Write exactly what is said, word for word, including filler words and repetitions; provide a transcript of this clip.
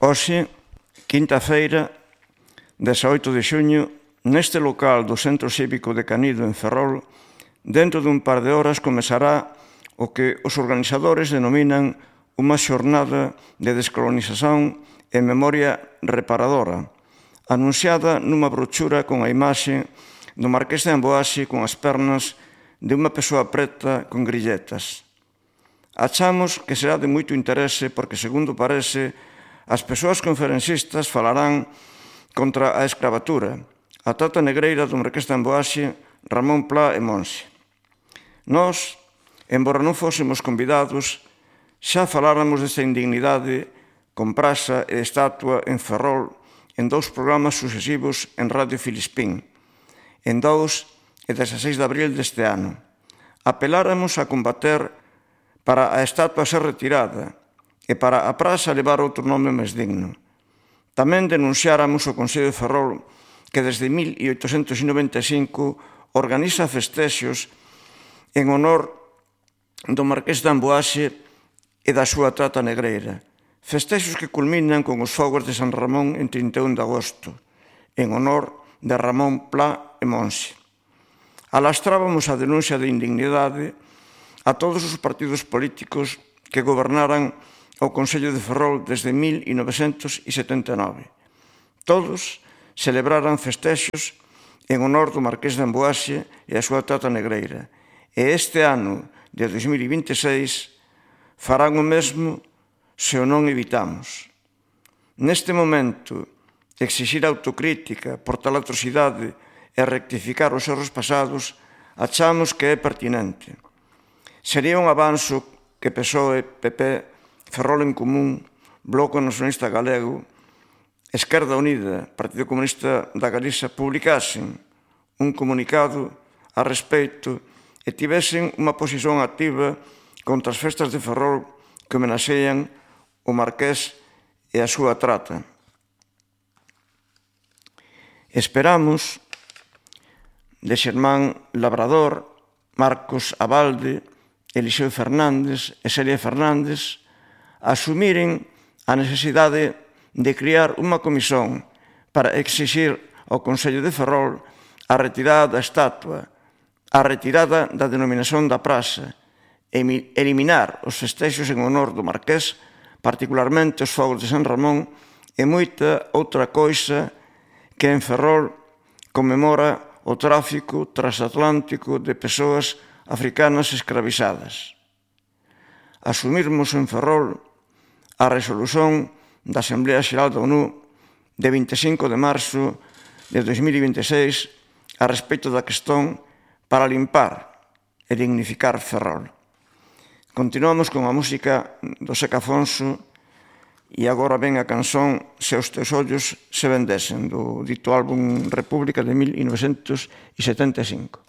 Hoxe, quinta-feira, dezaoito de xuño, neste local do Centro Cívico de Canido en Ferrol, dentro dun par de horas comezará o que os organizadores denominan unha xornada de descolonización e memoria reparadora, anunciada nunha brochura con a imaxe do Marqués de Amboase con as pernas de unha persoa preta con grilletas. Achamos que será de moito interese porque, segundo parece, as persoas conferencistas falarán contra a escravatura, a trata negreira do Marqués de Amboase, Ramón Pla e Monse. Nós, embora non fósemos convidados, xa faláramos desta indignidade con praza e estatua en Ferrol en dous programas sucesivos en Radio Filispín, en dous e dezaseis de abril deste ano. Apeláramos a combater para a estatua ser retirada e para a praza levar outro nome máis digno. Tamén denunciáramos o Concello de Ferrol que desde mil oitocentos noventa e cinco organiza festexos en honor do Marqués de Amboase e da súa trata negreira. Festexos que culminan con os fogos de San Ramón en trinta e un de agosto, en honor de Ramón Pla e Monse. Alastrábamos a denuncia de indignidade a todos os partidos políticos que gobernaran o Concello de Ferrol desde mil novecentos setenta e nove. Todos celebraran festexos en honor do Marqués de Amboase e a súa trata negreira. E este ano de dois mil vinte e seis farán o mesmo se o non evitamos. Neste momento, exixir autocrítica por tal atrocidade e rectificar os erros pasados achamos que é pertinente. Sería un avanzo que P S O E, P P, Ferrol en Común, Bloco Nacionalista Galego, Esquerda Unida, Partido Comunista da Galiza publicasen un comunicado a respeito e tivesen unha posición activa contra as festas de Ferrol que homenaxean o Marqués e a súa trata. Esperamos de Xermán Labrador, Marcos Abalde, Eliseo Fernández e Celia Fernández asumiren a necesidade de crear unha comisión para exixir ao Concello de Ferrol a retirada da estatua, a retirada da denominación da praza, e eliminar os festexos en honor do Marqués, particularmente os fogos de San Ramón, e moita outra coisa que en Ferrol conmemora o tráfico transatlántico de persoas africanas escravizadas. Asumirmos en Ferrol a resolución da Asamblea Xeral da ONU de vinte e cinco de marzo de dois mil vinte e seis a respecto da cuestión para limpar e dignificar Ferrol. Continuamos con a música do Seca Afonso e agora ven a canción Se os teus ollos se vendesen, do dito álbum República de mil novecentos setenta e cinco.